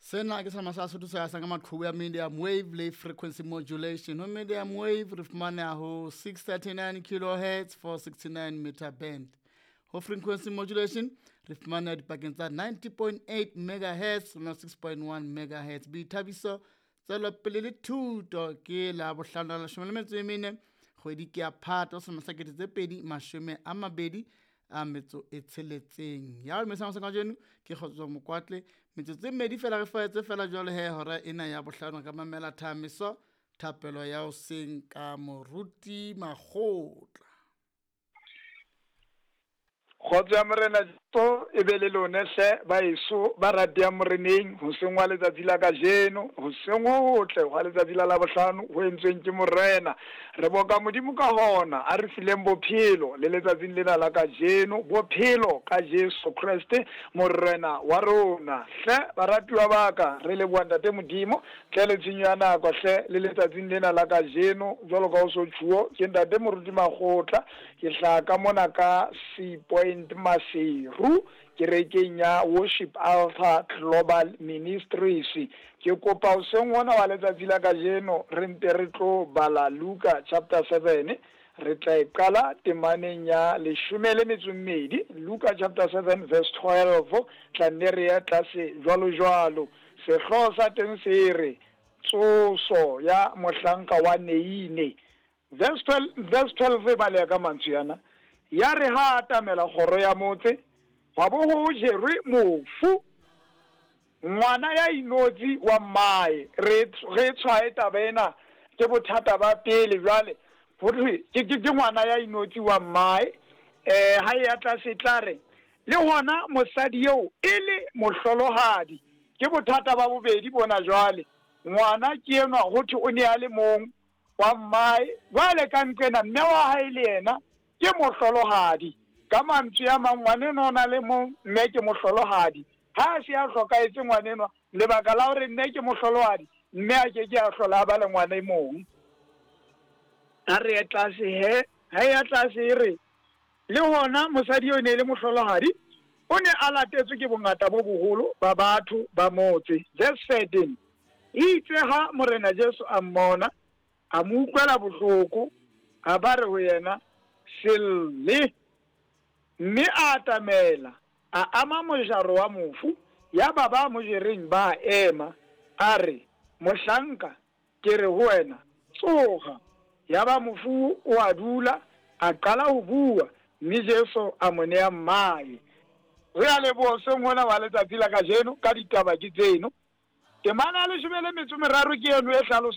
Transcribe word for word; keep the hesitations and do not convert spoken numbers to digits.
Sena ke selama sa Sotho se hasang ka maqhubu ya medium wave le frequency modulation. Ho medium wave re fumaneha ho six thirty-nine kilohertz, four sixty-nine meter band. Ho frequency modulation re fumaneha dipakeng tsa ninety point eight megahertz le six point one megahertz. Boithabiso, tswelopele le thuto ke la bohlano la leshome le metso e mene, kgwedi ke ya Phato selemo sa kete tse pedi mashome a mabedi a metso e tsheletseng. Ya ho mesang sa kajeno ke Kgotso Mokwatle. Metsotso e mmedi fela re faetse fela jwale he hora ena ya bohlano ka mamela thamiso thapelo ya hoseng ka Moruti Makgotla. Kgotso ya Morena Jesu e be le lone hle baeso ba ratehang Moreneng hoseng wa letsatsi la kajeno, hoseng ho hotle hwa letsatsi la Labohlano ho entsweng ke Morena. Re boka Modimo ka hona a re fileng bophelo le letsatsing lena la kajeno, bophelo ka Jesu Kreste Morena wa rona. Hle baratuwa ba ka, re leboha Ntate Modimo tle le tshenyo ya nako hle le letsatsing lena la kajeno. Jwalo ka ho so tjhuo, ke Ntate Moruti Makgotla, ke hlaha ka mona ka Sea Point Maseru kerekeng ya Worship Altar Global Ministries. Ke kopa hoseng hona wa letsatsi la kajeno re nte re tlo bala Luka chapter seven, re tla e qala temaneng ya leshome le metso e mmedi, Luka chapter seven verse twelve, tla nne re ya tlase jwalo jwalo. Sehlooho sa teng se re tsoso ya mohlanka wa Neine. Verse twelve, verse twelve e baleha ka mantswe ana. Ya re ha atamela kgoro ya motse, hwa bo ho jerwe mofu, ngwana ya inotsi wa mmae. Re, re tshwae taba ena ke bothata ba pele jwale. Ho thwe ke, ke, ke ngwana ya inotsi wa mmae. Eh, ha e ya tlase tla re le hona mosadi eo e le mohlolohadi. Ke bothata ba bobedi bona jwale. Ngwana ke enwa ho thwe o ne a le mong wa mmae, jwale ka nqena mme wa hae le yena ke mohlolohadi. Ka mantswe a mang, ngwanenwa o na le mong, mme ke mohlolohadi. Ha a se a hlokahetse ngwanenwa, lebaka la hore mme ke mohlolohadi, mme a ke ke a hlola a ba le ngwana e mong. A re ye tlase he, ha e ya tlase e re, le hona mosadi eo e ne e le mohlolohadi, o ne a latetswe ke bongata bo boholo ba batho ba motse. Verse thirteen, itse ha Morena Jesu a mmona, a mo utlwela bohloko, a ba re ho yena, se lle. Mme a atamela, a ama mojaro wa mofu, ya ba ba mo jereng ba ema, a re, mohlanka, ke re ho wena, tsoha. Ya ba mofu o a dula, a qala ho bua, mme Jesu a mo nea mmae. Re a leboha hoseng hona wa letsatsi la kajeno ka ditaba ke tseno. Temana ya leshome le metso e meraro ke eno e hlalosang